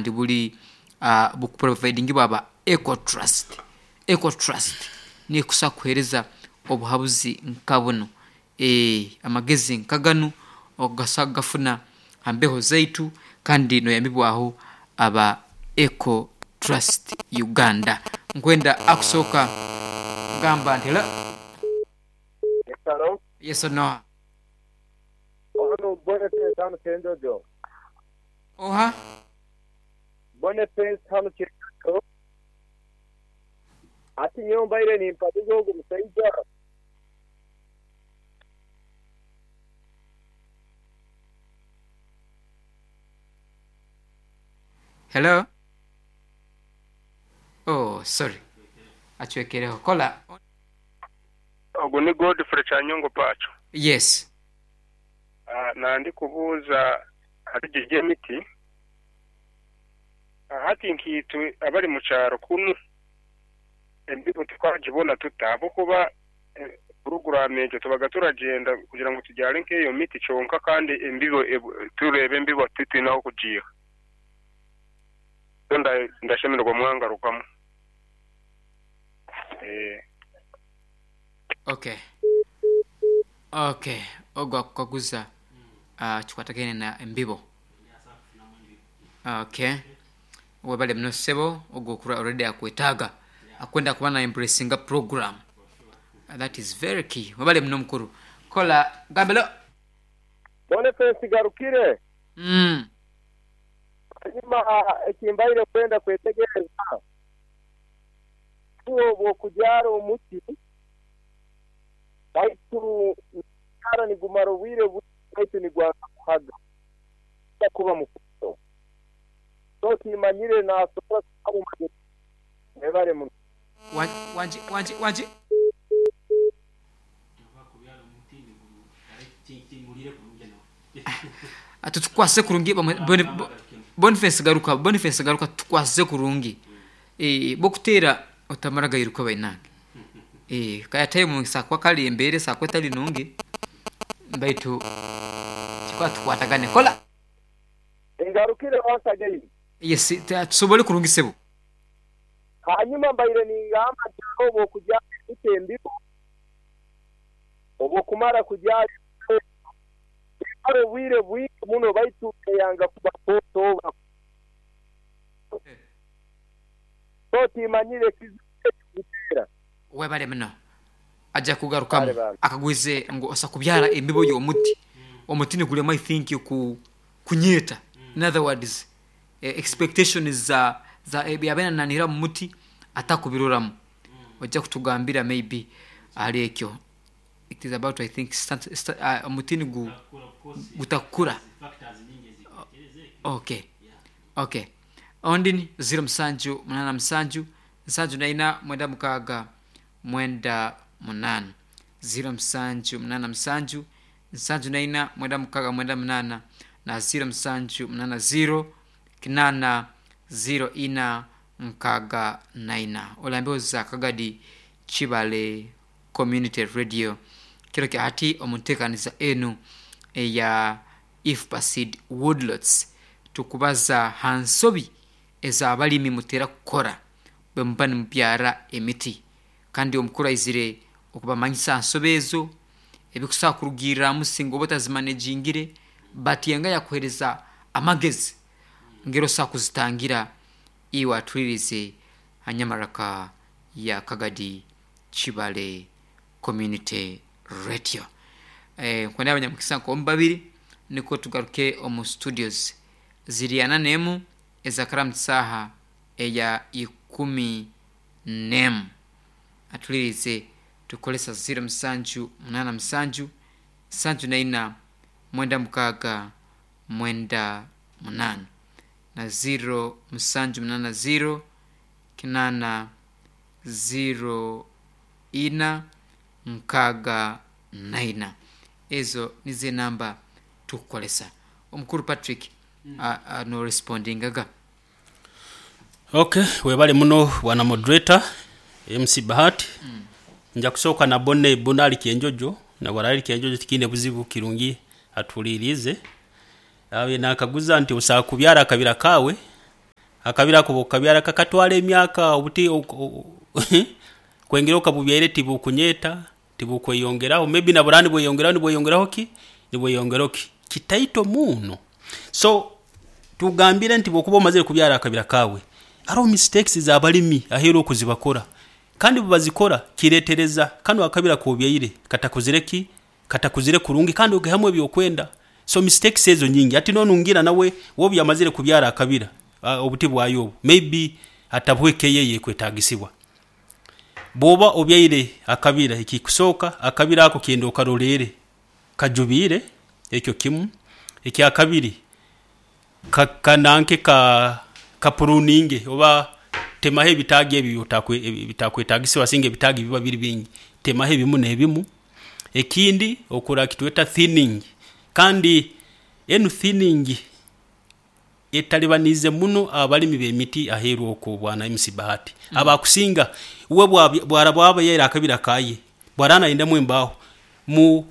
Kandi buli bukuprovidingibwa aba Eco Trust. Eco Trust niyo ekusobola kukuheereza obuhabuzi nka bunu, amagezi nka ganu osobola kugafuna ha mbeho zaitu kandi noyambibwaho aba Eco Trust Uganda. Nkwenda akusooka gamba nti hello. Yes hello. Yes noha? Onu Boniface hanu Kyenjojo. Oha? Boniface hanu Kyenjojo. Ati nyowe mbaire nimpaliza ogu musaija. Hello. Oh sorry acwekereho kola. Ogu ni Godfrey Kyanyongo Pacho. Yes. Nandi kubuuza ahari gye gy'emiti. Hati nkaitwe abari mu kyaro kunu embibo tukagibona tuta? Ahabw'okuba puroguraamu egyo tubaga turagyenda kugira ngu tubyare nk'eyo miti kyonka kandi embibo tureeba embibo titwine ah'okugiiha. So ndashemererwa mwangarukamu. Okay. Okay, ogu akukaguza kikwatagaine na embibo. Okay. Webale muno ssebo ogu okura already akwetaaga akwenda kuba na embracinga program. That is very key. Webale muno mukuru. Kola gambelo. Boniface Garukire. Hanyuma eki mbaire kwenda kwetegereza, iwe obu okubyara omuti, baitu nigubyara nigumara obwire bwingi baitu nigwanga kuhaga, nigwija kuba mukoto. So timanyire nasobora kuhamu magezi ki. Mwebale muno. Wangi, wangi, wangi. Tutukwasize kurungi Boniface garuka, Boniface garuka tutukwasize kurungi. Bwokuteera otamara gairuka bainange. Kaya time esobola kuba kale embeera esobola kuba etali nungi baitu kikuba tukwatagane. Kola. Ngarukire once again. Yes, tusobole kurungi sebo. Hanyuma mbaire ningamba nti haroho obw'okubyara emiti embibo, obw'okumara kubyara embibo ezo, emara obwire bwingi muno baitu eyanga kuba kooto oba so timanyire ekizibu ekirukutera. Webale muno. Aja kugarukamu akagwize ngu osobola kubyara embibo y'omuti, omuti nigurema I think kunyeeta in other words expectations za za ebi yabaire nanihira omu muti atakubiroramu. Oija kutugambira maybe ahari ekyo. It is about I think omuti nigu gutakukura. Okay, okay. Ondi ni ziro musanju munana musanju, nsanju na ina mwenda mukaaga mwenda munana. Ziro musanju munana musanju, nsanju na ina mwenda mukaaga mwenda munana na ziro musanju munana ziro kinana ziro ina nkaaga na ina. Olambeho za Kagadi Kibale Community Radio kiro kya hati omu nteekaniza enu eya IFPA Seed Woodlots tukubaza ha nsobi ez'abalimi mutera kukora bwemuba nimubyara emiti kandi omukuru aizire okubamanyisa ha nsobi ezo, ebikusobora kurugirramu singa oba otazimanejingire but yenga yakuhereza amagezi ngeri osobola kuzitangira iwe atuhuliriize ha nyamaraka ya Kagadi Kibale Community Radio. Nkwenda abanyamukisa nk'omu babiri nukwo tugaruke omu studios. Ziri ana n'emu ezakaramu saaha eya ikumi n'emu. Atuhuliriize tukukozesa ziro musanju munaana musanju, nsanju na ina, mwenda mukaaga, mwenda munaana na ziro musanju munaana ziro, kinaana ziro ina, nkaaga na ina. Ezo nizo enamba tukukozesa. Omukuru Patrick no respondingaga. Ok, webale muno bwana moderator MC Bahati. Nja kusooka na Bonne Bonne ali Kyenjojo na bwaraaba ali Kyenjojo tikiine buzibu kirungi atuhuliiriize. Abaire naakaguza nti osobola kubyara akabira kaawe. Akabira ako bw'okukabyara kakatwara emyaka obuti kwengera okabubyaire tibukunyeta, tibukweyongeraho, maybe na burani bweyongeraho nibweyongeraho ki, nibweyongeraho ki kitaito muno. So tugambire nti bwokuba omazire kubyara akabira kawe, haroho mistakes z'abalimi aheeru okuzibakora, kandi bubazikora kiretereza kanu akabira k'obyaire katakuzire ki, katakuzire kurungi kandi okihamu ebyokwenda. So mistakes ezo nyingi. Hati nonungira nawe wobu yamazire kubyara akabira obuti bwayo obu, maybe atabuhe keya eyekwetagisibwa. Bwoba obyaire akabira, ekikusooka akabira ako kyenda okaroleere kajubiire, ekyo kimu. Ekyakabiri, kananke kapruninge oba temaho ebitaagi ebi ebitakwetagisibwa, singa ebitaagi biba biri bingi, temaho ebimu n'ebimu. Ekindi okora kitweta thinning, kandi enu thinning etalibaniize muno abalimi b'emiti aheeru okwo bwana MC Bahati. Abakusinga uwe bwaraba yaire akabira kaye, bwaraba nayendamu embaaho mu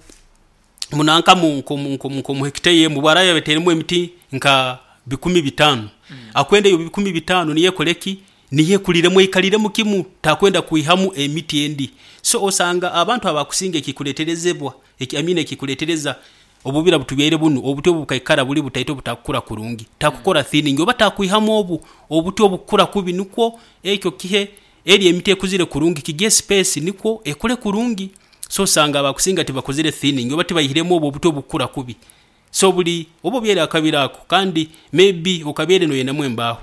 munanka nko hekita emu, bwaraba yateiremu emiti nka 5,000, akwenda eyo 5,000 niyo ekole ki, niyo ekuliremu eikaliremu kimu, takwenda kwihamu emiti endi. So osanga abantu abakusinga ekikuleterezebwa, I mean ekikuletereza obubira butubyaire bunu, obuti obu bukaikara buli butaito butakukura kurungi, takukora thinning oba takwihamu obu obuti obukukura kubi, nukwo ekyo kihe eri emiti ekuzire kurungi kigihe space nikwo ekure kurungi. So osanga abakusinga tibakozire thinning oba tibaihiremu obu obuti obukukura kubi. So buli oba obyaire akabira ako, kandi maybe okabyere noyendamu embaaho,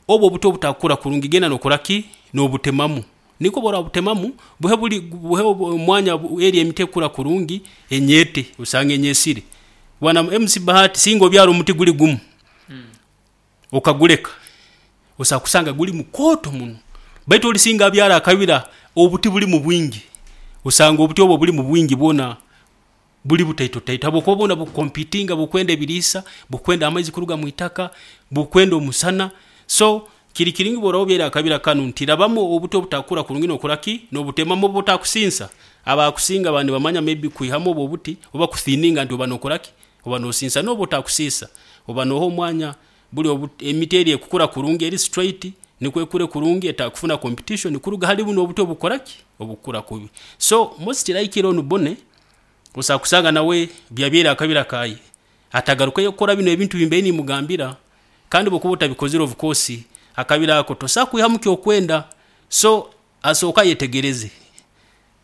obu obuti obutakukura kurungi genda nokora ki, nobutemamu, nikwo bworabutemamu buhe buli buhe omwanya eri emiti ekukura kurungi enyete, osanga enyesire. Bwana MC Bahati, singa obyara omuti guli gumu okaguleka, osobola kusanga guli mukooto muno, baitu oli singa abyara akabira obuti bulimu bwingi, osanga obuti obu obulimu bwingi bwona buli butaito taito, habwokuba bwona bukompitinga, bukwenda ebiriisa, bukwenda amaizi kuruga mwitaka, bukwenda omusana. So kiri kirungi bworaba obyaire akabira kanu nti rabamu obuti obutakukura kurungi nokora ki, nobutemamu obu butakusinsa. Abakusinga baba nibamanya maybe kwihamu obu obuti oba kuthininga nti oba nokora ki, oba nosinsa. Noba otakusiisa, oba noha omwanya buli emiti eri ekukura kurungi eri straight nikwo ekure kurungi etakufuna competition kuruga hali bunu obuti obukukora ki, obukukura kubi. So most likely onu bone osobola kusanga nawe byabyaire akabira kaye atagarukeyo kukora bino ebintu bimbaire nimugambira, kandi bwokuba otabikozire of course akabira ako tosobola kwihamu kyokwenda. So asooka ayetegereze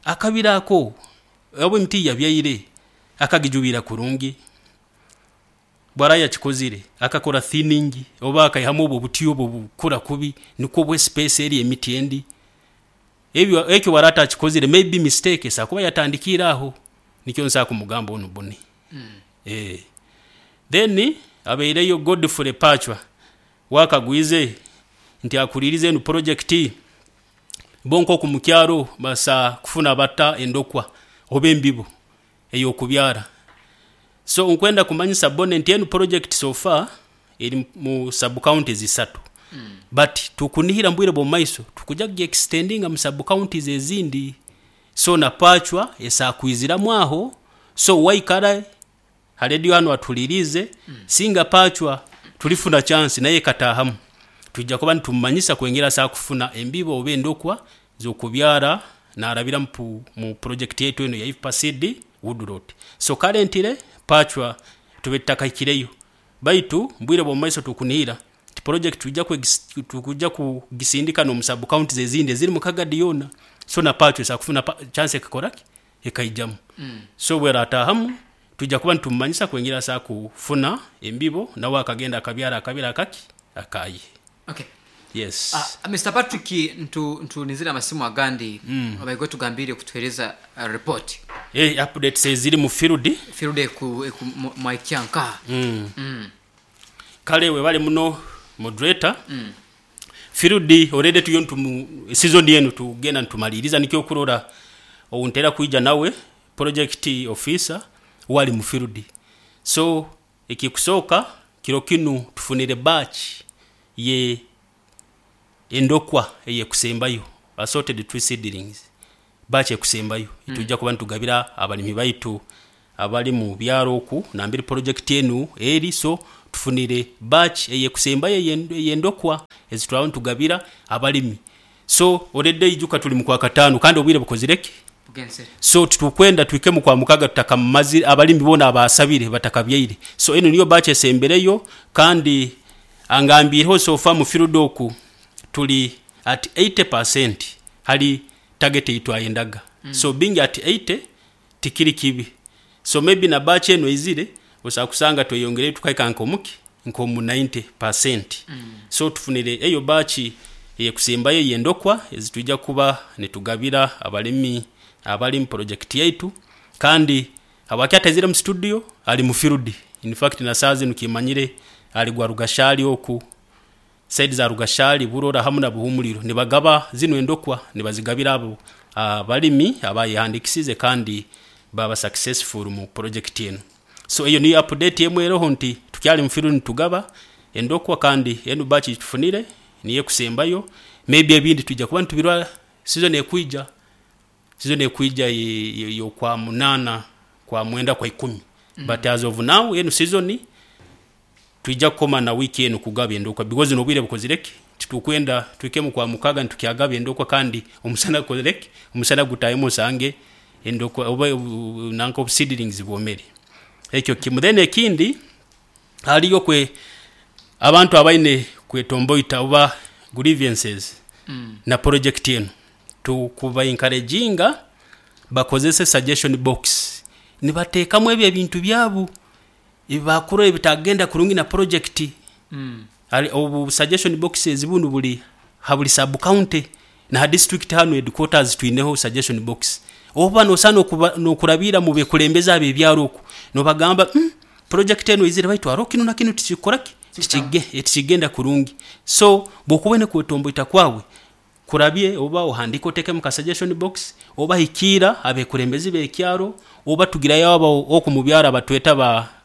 akabira ako obu emiti yabyaire akagijubiira kurungi, bwaraba yakikozire akakora thinning oba akaihamu obu obuti obu obukukura kubi nikwo buhe space eri emiti endi. Ebyo ekyo bwaraba atakikozire maybe mistake esobola kuba yatandikiire aho, nikyo nsobola kumugamba onu bone. Then abaireyo Godfrey Pachwa wakagwize nti akulirize enu project bo nkoku mukyaro basa kufuna bata endokwa oba embibo eyokubyara. So nkwenda kumanyisa bone nti enu project so far eri mu sub counties 3, but tukunihira mbwire bw'omumaiso tukuja kugiextendinga mu sub counties ezindi. So na Pachwa esakwiziramu aho. So waikara ha radio hanu atulirize, singa Pachwa tulifuna chance naye katahamu, tujja kuba nitumumanyisa kwengera asa kufuna embibo oba endokwa z'okubyara narabira mu project yetu eno ya IPACD Woodlot. So currently Pachwa tube tutakahikireyo, baitu mbwire bw'omumaiso tukunihira ti project tukuja kugisindika n'omu sub counties ezindi eziri mu Kagadi yoona. So na Pachwa esobola kufuna chance ekakora ki, ekaijamu. So bweratahamu tujja kuba nitumumanyisa kwengera asa kufuna embibo nawe akagenda akabyara akabira akaki akaye. Okay. Yes. Mr. Patrick, ntunizire amasimu agandi abaigwe tugambire kutuhereza report. Updates eziri mu field. Field eku mwaikyanka. Kale webale muno moderator. Field already tuyo ntumu season yenu tugenda ntumaliriza, nikyo kurora ountera kuija nawe project officer wali mu field. So ekikusoka kiro kinu tufunire batch ye endokwa eyekusembayo, assorted tree seedlings, batch ekusembayo. Tujja kuba nitugabira abalimi baitu abali mu byaro oku nambiri project enu eri. So Tufunire batch eyekusembayo eyendokwa ezitwaba nitugabira abalimi. So already ijuka tuli mu Kwakataano kandi obwire bukozire ki? Bugenzere. So titukwenda twike mu Kwamukaga tutakamazire abalimi boona abasabire batakabyaire. So enu niyo batch esembereyo, kandi angambiireho so far mu field oku tuli at 80% hali target ei twayendaga. So being at 80 tikiri kibi. So maybe na batch enu eizire osobola kusanga tweyongereyo tukahika nk'omuki nk'omu 90%. So tufunire eyo batch eyekusembayo ey'endokwa ezitwija kuba nitugabira abalimi abali mu project yaitu. Kandi habwaki ataizire mu studio? Ali mu field. In fact na saaha zinu kimanyire ali gwa Rugashali oku, side za Rugashali, Burora hamu na Buhumuliro, nibagaba zinu endokwa, nibazigabira abo abalimi abayehandikisize kandi baba successful mu project enu. So eyo niyo update emwe eroho, nti tukyali mu field nitugaba endokwa, kandi enu batch tufunire niyo ekusembayo. Maybe ebindi twija kuba nitubirora season ekwija, season ekwija y'okwa 8, kwa 9, kwa 10. But as of now enu season twija kukoma na wiiki enu kugaba endokwa, because n'obwire bukozire ki, titukwenda twikemu kwa mukaga nitukyagaba endokwa kandi omusana gukozire ki, omusana gutahemu osange endokwa oba nanka obu seedlings bwomere. Ekyo kimu. Then ekindi, haliyo kwe abantu abaine kwetomboita oba grievances na project enu, tukuba encouraginga bakozese suggestion box, nibateekamu ebyo ebintu byabo ebibakurora ebitagenda kurungi na project. Obu suggestion boxes bunu buli ha buli sub county na ha district hanu headquarters twineho suggestion box. Oba nosaana n'okurabiira mu bekulembeze ab'ebyaro oku, nobagamba, project enu eizire baitu haroho kinu na kinu tikikukora ki, tikigenda kurungi. So bwokuba oine kwetomboita kwawe kurabye, oba ohandike otekemu ka suggestion box, oba hikiira abekulembezi b'ekyaro, oba tugirayo abo oku mu byaro abatweta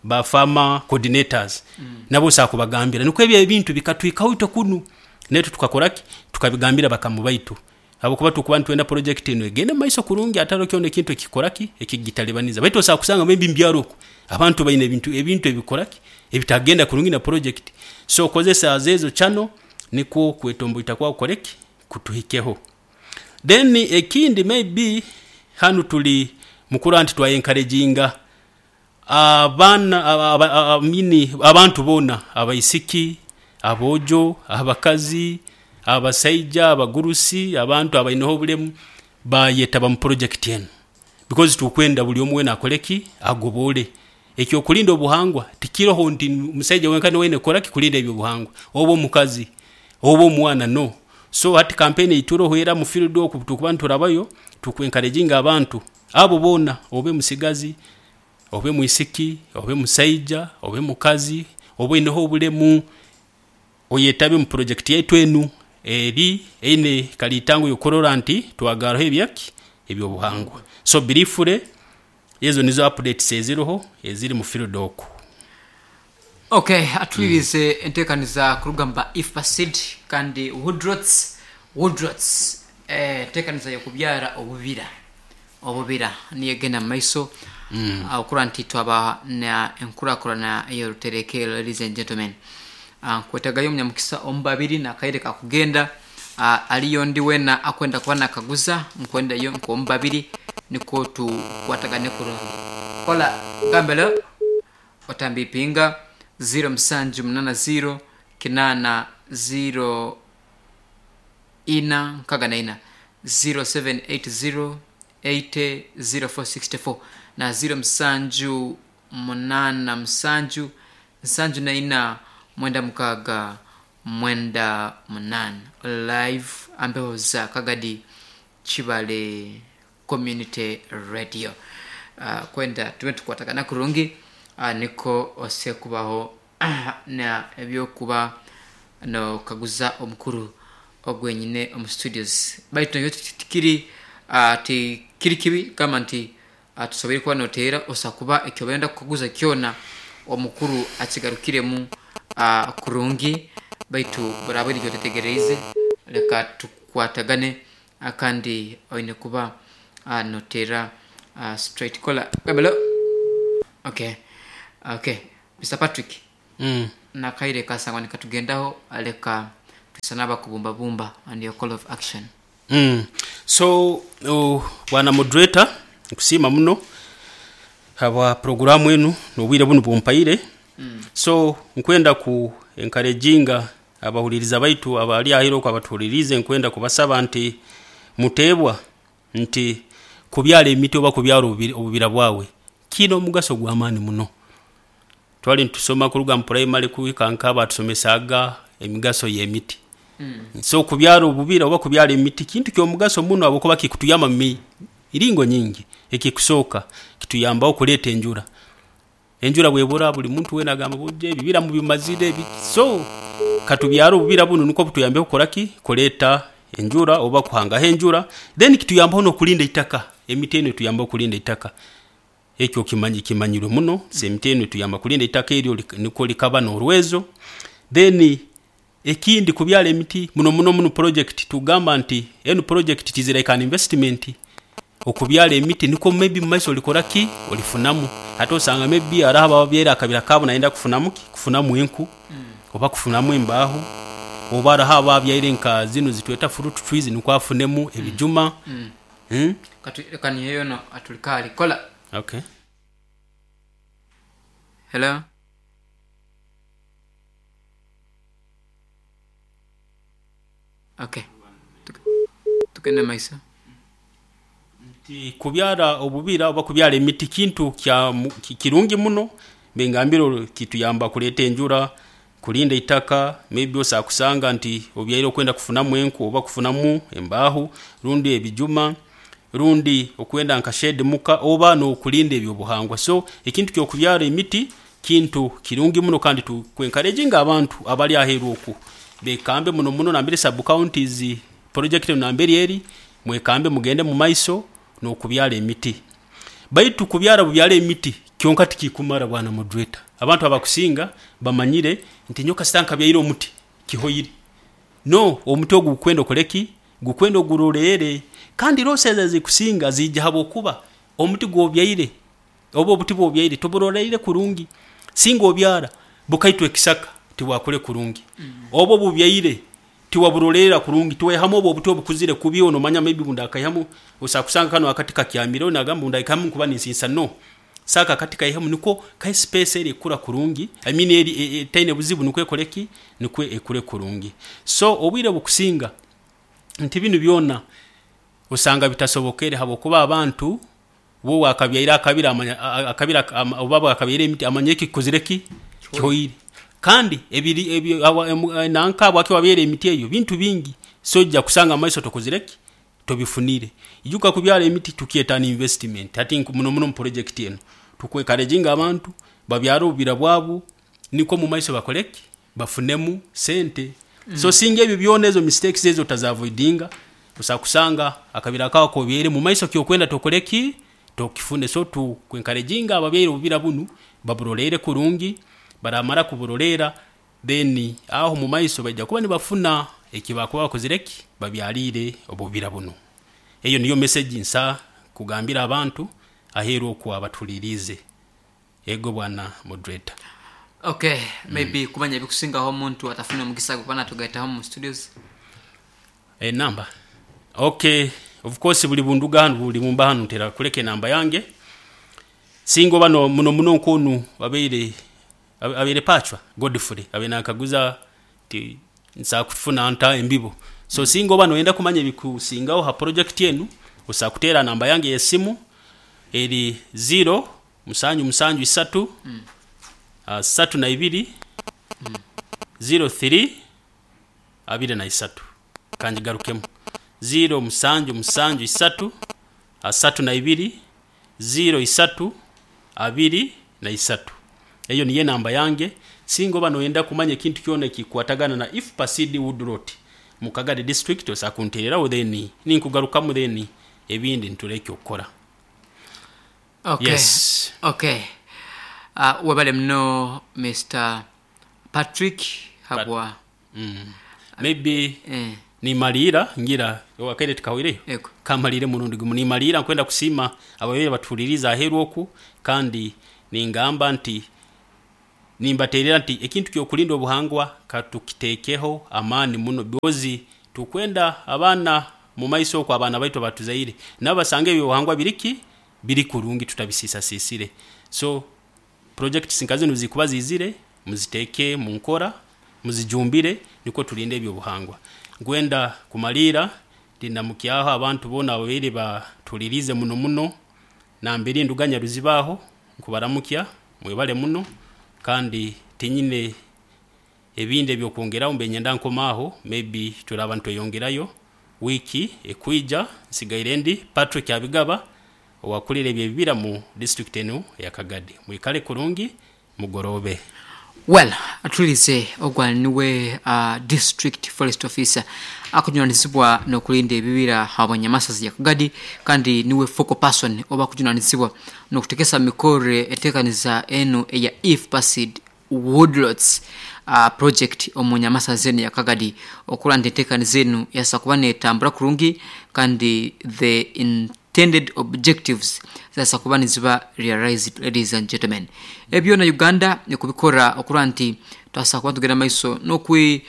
ba farmer coordinators, nabo osobola kubagambira nikwo ebyo ebintu bikatwikaho itwe kunu, naitwe tukakora ki, tukabigambira bakamu baitu, habwokuba tukuba nitwenda project enu egende mumaiso kurungi, hataro kyona ekintu ekikora ki ekikugitalibaniza. Baitu osobola kusanga maybe mu byaro oku abantu baine ebintu ebikora ki ebitagenda kurungi na project. So kozesa ezo channel nikwo kwetomboita kwawe kukore ki, kutuhikeho. Then ekindi, maybe hanu tuli mukurora nti twa encouraginga abaana mini abantu boona, abaisiki, aboojo, abakazi, abasaija, abagurusi, abantu abaineho obulemu, bayetaba mu project enu, because tukwenda buli omu weena akole ki, agobole. Ekyokulinda obuhangwa tikiroho nti musaija wenka niwe aine kukora ki, kulinda ebyobuhangwa, oba omukazi oba omwana, no. So hati campaign eituroho era mu field oku tukuba niturabayo, tuku encouraginga abantu abo boona, obe musigazi, obe mwisiki, obe musaija, obe mukazi, oba oineho obulemu, oyetabe mu project yaitu enu eri eine kalitango yokurora nti twagaraho ebyaki ebyobuhangwa. So briefly ezo nizo updates eziroho eziri mu field oku. Okay, atwirize enteekaniza kuruga mu ba IFPA Seed kandi Woodrots, enteekaniza y'okubyara obubira niyo egenda mu maiso, okurora nti twaba na enkurakurana ey'orutereke. Ladies and gentlemen, nkwetagayo omunyamukisa omu babiri nakaire kakugenda. Aliyo ndi wena akwenda kuba nakaguza, nkwendayo nk'omu babiri nikwo tukwatagane kurungi. Kola gambelo otambipinga 0780 8 0 ina nkaga na ina, 0780 80 0464 na 0787 74 96 98. Live ambeho za Kagadi Chibale Community Radio. Kwenda tube tukwatagana kurungi, niko ose kubaho na ebyokuba nokaguza omukuru ogwenyine omu studios. Baitu nakyo tikiri tikiri kibi gamba nti tusoboire kuba noteera osa kuba ekyobaenda kukaguza kyona omukuru akigarukiremu kurungi. Baitu buraba erikyo otetegereize, leka tukwatagane, kandi oine kuba noteera straight. Kola gambelo. Okay, Mr. Patrick. Nakaire kasangwa nikatugendaho, aleka tusanaba kubumbabumba and your call of action. So bwana moderator, nkusiima muno habwa programu enu n'obwire bunu bumpaire. So nkwenda ku encouraginga abahuliriza baitu abali ahiro okwo abatuhulirize, nkwenda kubasaba nti muteebwa nti kubyala emiti oba kubyala obubira bwawe kiina omugaso gw'amaani muno. Twali nitusoma kuruga mu primary kuhika nk'aba tusomesaaga emigaso y'emiti. So kubyara obubira oba kubyara emiti kintu ky'omugaso muno habwokuba kikutuyamba mu miringo nyingi. Ekikusooka kituyambaho kuleeta enjura. Enjura bwebura buli muntu weena agamba bujja ebibira mubimazire so katubyara obubira bunu nukwo butuyambeho kukora ki? Kuleeta enjura oba kuhangaho enjura. Then kituyambaho n'okulinda eitaka. Emiti enu etuyambaho kulinda eitaka. Ekyo kimanyirwe muno. So emiti enu etuyamba kulinda eitaka eryo nukwo likaba n'orwezo. Then ekindi kubyara emiti muno muno muno project tugamba nti enu project it is like an investment. Okubyara emiti nukwo maybe mumaiso olikora ki? Olifunamu. Hati osanga maybe hariho ababyire akabira kaabo nayenda kufunamu ki? Kufunamu enku oba kufunamu embaaho, oba hariho ababyaire nka zinu zitweta fruit trees nukwo afunemu ebijuma. Katu niyo no atulikali kola. Okay. Hello. Okay. Tukende maisa. Nti kubyara obubira oba kubyara emiti kintu kya kirungi muno, bengambire kituyamba kuleeta enjura, kulinda eitaka, maybe osobola kusanga nti obyaire okwenda kufunamu enku oba kufunamu embaaho rundi ebijuma rundi okwenda nka shade muka oba n'okulinda ebyobuhangwa. So ekintu ky'okubyara emiti kintu kirungi muno, kandi tukwencouraginga abantu abali aheeru oku bekambe muno muno nambere sub counties project enu nambere eri, mwekambe mugende mu maiso n'okubyara emiti. Baitu kubyara bubyara emiti kyonka tikikumara bwana moderator. Abantu abakusinga bamanyire nti nyowe kasita nkabyaire omuti kihoire. No, omuti ogu gukwenda okole ki? Gukwenda oguroleere. Kandi losses ezikusinga ziija habwokuba omuti gw'obyaire oba obuti bw'obyaire toburoleire kurungi. Singa obyara bukaitwa ekisaka tibwakure kurungi. Oba obubyaire tiwaburoleera kurungi, tiwaihamu obu obuti obukuzire kubi, onomanya maybe bundakaihamu osobola kusanga kanu akati kakyamire nagamba bundakaihamu nkuba ninsiisa. No, saaka akati kaihemu nukwo kahe space eri ekura kurungi, I mean eri etaine buzibu nukwo ekore ki? Nukwo ekure kurungi. So obwire bukusinga nti binu byona osanga bitasobokere habwokuba abantu bo wakabyaire akabira amanya akabira oba bwakabyaire emiti amanya eki kikozire ki? Kihoire. Kandi ebiri ebyo nanka bwaki wabyaire emiti eyo bintu bingi, so ojja kusanga amaiso tokozire ki? Tobifunire. Ijuka kubyara emiti tukyeta ni investment. Hati muno muno mu project enu tukwencouraginga abantu babyare obubira bwabo nukwo mu maiso bakore ki? Bafunemu sente. So singa ebyo byona ezo mistakes ezo otazavoidinga, osobola kusanga akabira kawe k'obyaire mu maiso kyokwenda tokore ki? Tokifune. So tukwencouraginga ababyaire obubira bunu baburoleere kurungi, baramara kuburoleera then aho mu maiso baija kuba nibafuna eki bakuba bakozire ki? Babyaliire obubira bunu. Eyo niyo message nsa kugambira abantu aheeru oku abatuhuliriize. Ego bwana moderator. Okay, maybe kumanya ebikusingaho omuntu atafuna omugisa gwe kuba natugaitaho mu studios. Enamba. Okay, of course buli bunduga hanu buli mumba hanu ntera kuleka enamba yange. Singa oba no muno muno nkonu abaire abaire pachwa Godfrey abe nakaguza ti nsa kufuna nta embibo. So singa oba noyenda kumanya ebikusingaho ha project enu, osobola kuteera namba yange y'esimu eri 0 7 7 3 32 03 23. Kanjigarukemu 0 7 7 3 32 03 23. Eyo niyo namba yange. Singa oba noyenda kumanya ekintu kyona ekikwatagana na IFPA seed woodlot mu Kagadi district, osobola kunteereraho then ninkugarukamu then ebindi nituleka okukora. Okay. Yes. Okay. Webale muno Mr. Patrick habwa. Maybe nimaliira ngira wakaire tikahwireyo. Ego. Kamalire murundi gumu nimaliira nkwenda kusiima ababeire batuhuliriza aheeru oku, kandi ningamba nti Nimbaterera nti ekintu kyokulinda obuhangwa katukitekeho amaani muno, because tukwenda abaana mu maiso okwo, abaana baitu abatuzaire nabo basange ebyobuhangwa biriki biri kurungi, tutabisisasisire. So projects nka zinu zikuba zizire, muziteeke mu nkora, muzijumbire, nikwo tulinde ebyobuhangwa. Nkwenda kumaliira ndinamukyaho abantu boona ababaire batulirize muno muno nambere nduganya ruzibaho, nkubaramukya, mwebale muno. Kandi tinyine ebindi ebyokwongeraho, mbe nyenda nkomaaho, maybe turaba ntweyongerayo wiiki ekwija. Nsigaire ndi Patrick Abigaba, owakulira ebyebibira mu district enu eya Kagadi. Mwikale kurungi, mugorobe. Well, atulize ogwa niwe district forest officer akujunanizibwa n'okulinda ebibira habwanyamasazi ya Kagadi, kandi niwe focal person oba akujunanizibwa n'okutekesa mikore etekaniza enu eya IFPACID woodlots project omu nyamasazi enu ya Kagadi, okura nti entekaniza enu yasa kuba netambura kurungi kandi the intended objectives zasa kuba niziba realized. Ladies and gentlemen, ebyo na Uganda ekubikora okura nti twasa kuba tugenda maiso n'okwi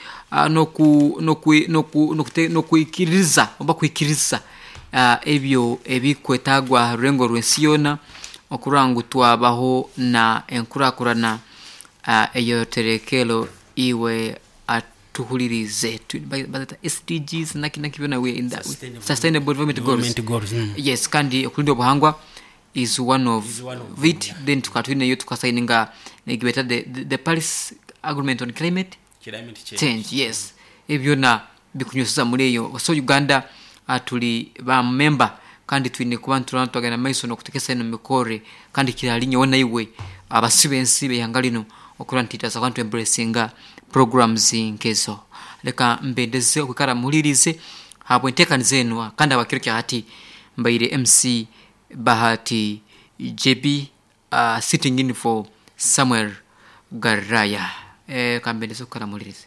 n'oku n'okwi n'oku n'okute n'okwikiriza oba kwikiriza ebyo ebikwetagwa ha rurengo rw'ensi yoona okurora ngu twabaho na enkurakurana eyoterekero. Iwe atuhulirize, bazeta SDGs naki naki byona, we in the Sustainable sustainable development goals. Development goals. Yes, kandi okulinda obuhangwa is one of, Is one of them, it. Yeah. Then tukaba twineyo tukasayininga nekibeta the Paris Agreement on climate Climate change. Change, yes. Ebyona bikunyweseza muri eyo. So Uganda tuli ba member kandi twine kuba nturana twagenda maiso n'okutekesa eno mikore, kandi kirali nyowe naiwe abasibe ensi b'eihanga lino okura nti tutaza kuba ntuembracinga programs nkezo. Leka mbendeze okwikara muhulirize habwentekaniza enu, kandi abakiro kya hati mbaire MC Bahati JB, sitting in for Samuel Garaya. Kambendeze okwikara muhulirize.